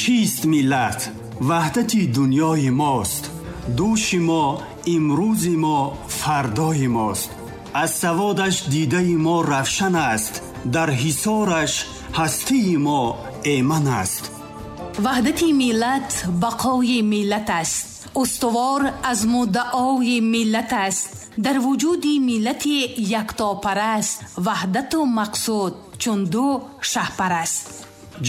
Чист миллат? Ваҳдати дунёи мост. Дӯши мо, имрӯзи мо, фардои мост. Аз саводаш дидаи мо равшан аст, дар ҳисораш ҳастии мо эман аст. Ваҳдати миллат бақои миллат аст, устувор аз муддаои миллат аст. Дар вуҷуди миллати яктопараст ваҳдату мақсуд чун ду шаҳпараст.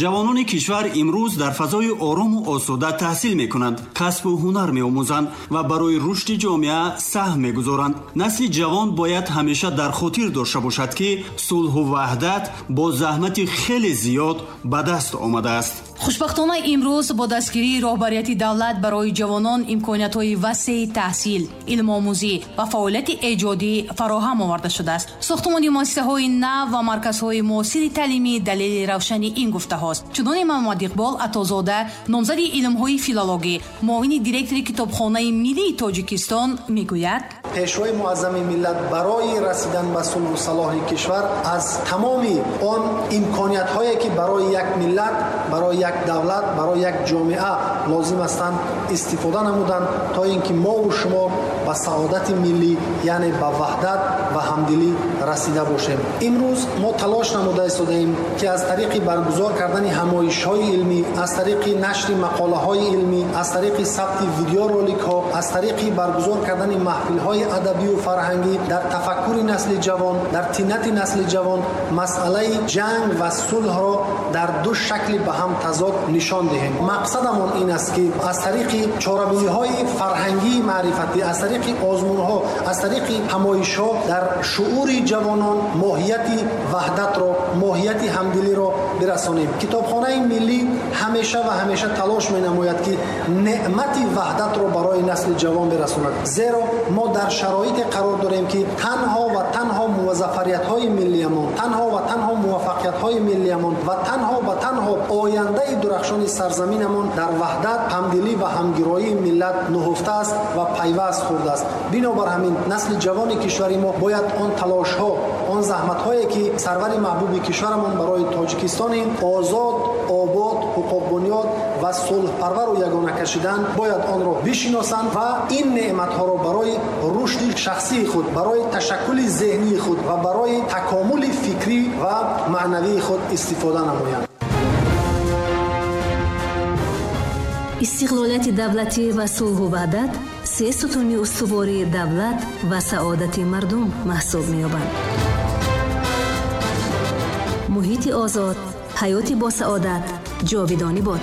Ҷавонони кишвар имрӯз дар фазои орому осуда таҳсил мекунанд, касбу ҳунар меомӯзанд ва барои рушди ҷомеа саҳм мегузоранд. Насли ҷавон бояд ҳамеша дар хотир дошта бошад, ки сулҳу ваҳдат бо заҳмати хеле зиёд ба даст омадааст. Хушбахтона, имрӯз бо дастгирии роҳбарияти давлат барои ҷавонон имкониятҳои васеи таҳсил, илмомӯзӣ ва фаъолияти эҷодӣ фароҳам оварда шудааст. Сохтумони муассисаҳои нав ва марказҳои муосири таълимӣ далели равшани ин гуфтаҳост. Чуноне Муҳаммад Иқбол Атозода, номзади илмҳои филологӣ, муовини директори Китобхонаи миллии Тоҷикистон мегӯяд: Пешвои муаззами миллат барои расидан ба сулҳу салоҳи кишвар аз тамоми он имкониятҳое, ки барои як миллат, барои як давлат, барои як ҷомеа лозим ҳастанд, истифода намуданд, то ин ки мову шумо ба саодати миллӣ, яъне ба ваҳдат ва ҳамдилӣ расида бошем. Имрӯз мо талош намуда истодаем, ки аз тариқи баргузор кардани ҳамоишҳои илмӣ, аз тариқи нашри мақолаҳои илмӣ, аз тариқи сабти видеороликҳо, аз тариқи баргузор кардани маҳфилҳои адабию фарҳангӣ дар тафаккури насли ҷавон, дар тинати насли ҷавон масъалаи ҷанг ва сулҳро дар ду шакли ба ҳам тазод нишон диҳем. Мақсадамон ин аст, ки аз тариқи чорабиниҳои фарҳангии маърифатӣ, аз тариқи озмунҳо, аз тариқи ҳамоишҳо дар шуури ҷавонон моҳияти ваҳдатро, моҳияти ҳамдилиро бирасонем. Китобхонаи миллӣ ҳамеша ва ҳамеша талош менамояд, ки неъмати ваҳдатро барои насли ҷавон бирасонад, зеро мо дар шароите қарор дорем, ки танҳо ва танҳо музаффариятҳои миллиямон, танҳо ва танҳо муваффақиятҳои миллиямон ва танҳо ва танҳо ояндаи дурахшони сарзаминамон дар ваҳдат, ҳамдилӣ ва ҳамгироии миллат нуҳуфта аст ва пайваст хӯрдааст. Бинобар ҳамин насли ҷавони кишвари мо бояд он талошҳо, он заҳматҳое, ки сарвари маҳбуби кишварамон барои Тоҷикистони озод, обод, ҳуқуқбунёд ва сулҳпарвару ягона кашидан, бояд онро бишиносанд ва ин неъматҳоро барои рушди шахсии худ, барои ташаккули зеҳнии худ ва барои такомули фикрӣ ва маънавии худ истифода намоянд. Истиқлолияти давлатӣ ва сулҳу ваҳдат се сутуни устувори давлат ва саодати мардум маҳсуб меёбанд. Муҳити озод, ҳаёти босаодат ҷовидонӣ бод.